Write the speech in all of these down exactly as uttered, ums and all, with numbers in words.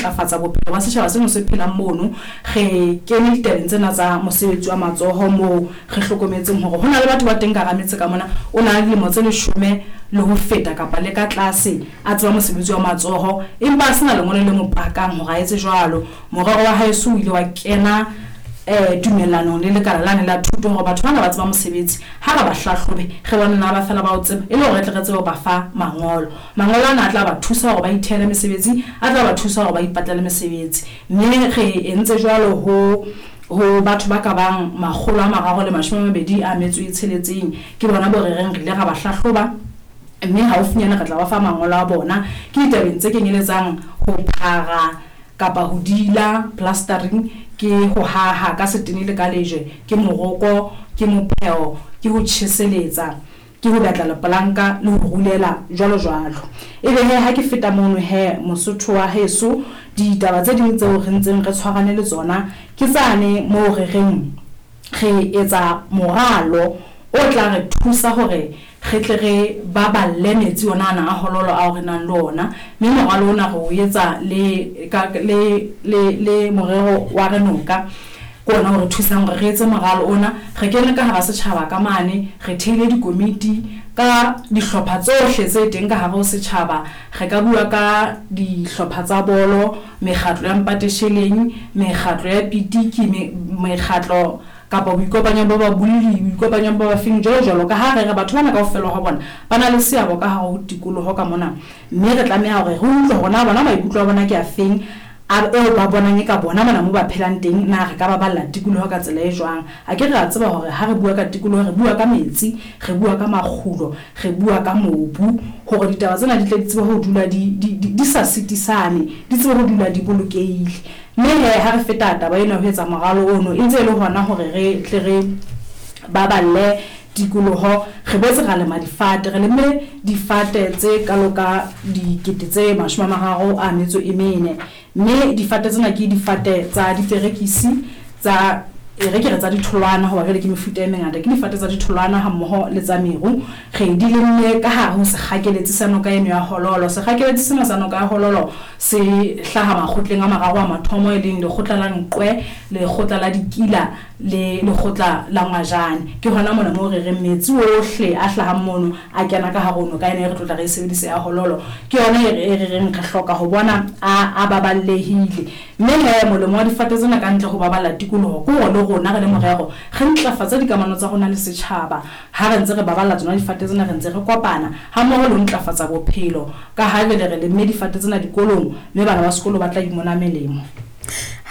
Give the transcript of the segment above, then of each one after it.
ntlafatsa bophelo ba setjhaba seno se phelang mono, re kene ditabeng tsena tsa mosebetsi wa matsoho moo re hlokometseng hore ho na le batho ba teng ka hara metse ka mona, o na le dilemo tse leshome le ho feta kapa le ka tlase a tseba mosebetsi wa matsoho, empa a sena lengolo le mo pakang hore a etse jwalo. Morero wa haeso o ile wa kena eh tumellanong le lekala lane la thuto hore batho bana ba tseba mosebetsi, ha re ba hlahlobe re bone na ba fela ba o tseba, e le hore re tle re tsebe ho ba fa mangolo. Mangolo ana a tla ba thusa hore ba ithehele mesebetsi, a tla ba thusa hore ba ipatlele mesebetsi. Mme re entse jwalo ho ho batho ba ka bang makgolo a mararo le mashome a mabedi a metso e tsheletseng, ke bona bo re reng re ile ra ba hlahloba, mme haufinyana re tla ba fa mangolo a bona. Ke ditabeng tse kenyeletsang ho phara kapa ho dila, plastering, ke ho haha ka setene le ka lejwe, ke moroko, ke mopheo, ke ho tjheseletsa, ke ho betla lepolanka le ho rulela, jwalo jwalo. Ebe he ha ke feta mono he Mosotho wa heso, ditaba tse ding tseo re ntseng re tshwarane le tsona ke tsane moo re reng re etsa moralo o tla re thusa hore re tle re baballe metsi ona ana a Hololo ao re nang le ona. Mme moralo ona re o etsa le ka le le le morero wa Renoka, ke ona o re thusang hore re etse moralo ona. Re kene ka hara setjhaba ka mane, re theile dikomiti ka dihlopha tsohle tse teng ka hare ho setjhaba. Re ka bua ka dihlopha tsa bolo, mekgatlo ya mpatesheleng, mekgatlo ya pitiki, mekgatlo kapa boikopanyo ba babolli, boikopanyo ba bafeng, jwalo jwalo. Ka ha re re batho bana kaofela ha bona ba na le seabo ka hare ho tikoloho ka mona, mme re tlameha hore re utlwe hore na bona maikutlo a bona ke a feng, a eo ba bonang e ka bona mona moo ba phelang teng, na re ka baballa tikoloho ka tsela e jwang. A ke re a tseba hore ha re bua ka tikoloho re bua ka metsi, re bua ka makgulo, re bua ka mobu, hore ditaba tsena di tle di tsebe ho dula di di di sa sitisane, di tsebe ho dula di bolokehile. Mme he ha re feta taba ena ho etsa moralo ono, e ntse e le hona hore re tle re baballe tikoloho, re boetse ra lema difate, re lemme difate tse kalo ka dikete tse mashome a mararo a metso e mene. Mme difate tsena ke difate tsa diperekisi, tsa e re ke re tsa ditholwana, hoba jwale ke mefuta e mengata, ke difate tsa ditholwana hammoho le tsa meru. Re di lemme ka hare ho sekgakeletsi sa noka eno ya Hololo. Sekgakeletsi sena sa noka ya Hololo se hlaha makgotleng a mararo a mathomo, e leng lekgotla la Nqwe, lekgotla la Dikila le lekgotla la Ngwajane. Ke hona mona moo re reng metsi ohle a hlahang mono a kena ka hare ho noka ena e re tlotla re e sebedisa ya Hololo. Ke yona e re reng re hloka ho bona a a baballehile. Mme he molemo wa difate tsena ka ntle ho baballa tikoloho ke hore le rona re le morero re ntlafatse dikamano tsa rona le setjhaba. Ha re ntse re baballa tsona difate tsena, re ntse re kopana hammoho le ho ntlafatsa bophelo, ka ha jwale re lemme difate tsena dikolong, mme bana ba sekolo ba tla imona melemo.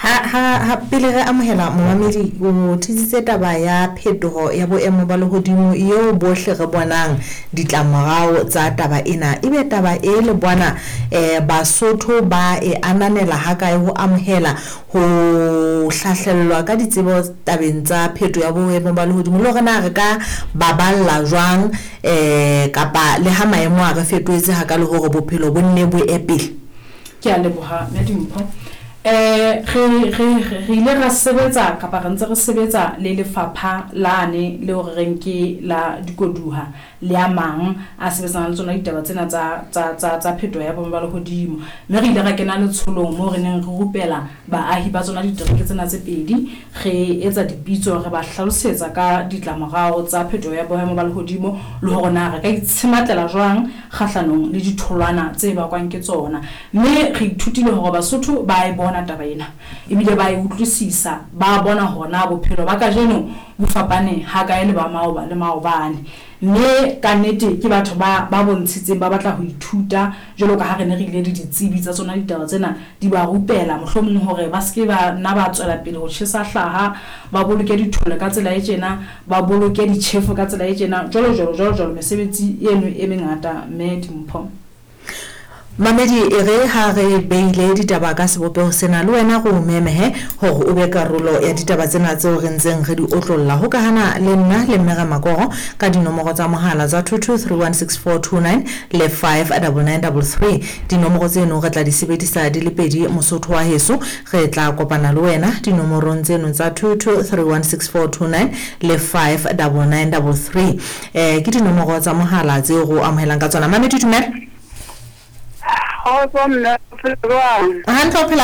Ha ha ha pele re amohela momamedi, o thusitse taba ya phetoho ya boemo ba lehodimo eo bohle re bonang ditlamorao tsa taba ena. Ebe taba e le bona eh Basotho ba e ananela ha kae ho amohela ho hlahlellwa ka ditsebo tabeng tsa pheto ya boemo ba lehodimo, le hore na re ka baballa jwang eh kapa le ha maemo a re fetohetse ha ka le hore bophelo bo nne bo epele? Ke a leboha mme Dimpho. Eh re re re ile ra sebetsa kapa re ntse re sebetsa le lefapha lane le hore reng ke la dikoduha le a mang a sebetsana le tsona ditaba tsena tsa tsa tsa tsa phetoho ya boemo ba lehodimo. Mme re ile ra kena letsholong moo re neng re rupela baahi ba tsona ditereke tsena tse pedi, re etsa dipitso, re ba hlalosetsa ka ditlamorao tsa phetoho ya boemo ba lehodimo le hore na re ka itshematlela jwang kgahlanong le ditholwana tse bakwang ke tsona. Mme re ithutile hore Basotho ba e bona taba ena, ebile ba e utlwisisa, ba bona hore na bophelo ba kajeno bo fapane ha kae le ba maoba le maobane. Mme ka nnete ke batho ba ba bontshitseng ba batla ho ithuta, jwalo ka ha re ne re ile le ditsebi tsa tsona ditaba tsena di ba rupela, mohlomong hore ba seke ba nna ba tswela pele ho tjhesa hlaha, ba boloke dithole ka tsela e tjena, ba boloke ditjhefo ka tsela e tjena, jwalo jwalo jwalo jwalo, mesebetsi eno e mengata mme Dimpho. Mamedi, e re ha re beile ditaba ka sebopeho sena, le wena go memehe hore o be karolo ya ditaba tsena tseo re ntseng re di otlolla. Hokahana le nna le Mme Ramakoro ka dinomoro tsa mohala tsa two two three one six four two nine le five double nine double three. Dinomoro tseno re tla di sebedisa di le pedi Mosotho wa heso. Re tla kopana le wena dinomorong tseno tsa two two three one six four two nine le five double nine double three. Eh ke dinomoro tsa mohala tseo go amohelang ka tsona. Mamedi, dumela. Kgotso mme, o phela jwang? Hantle, o phela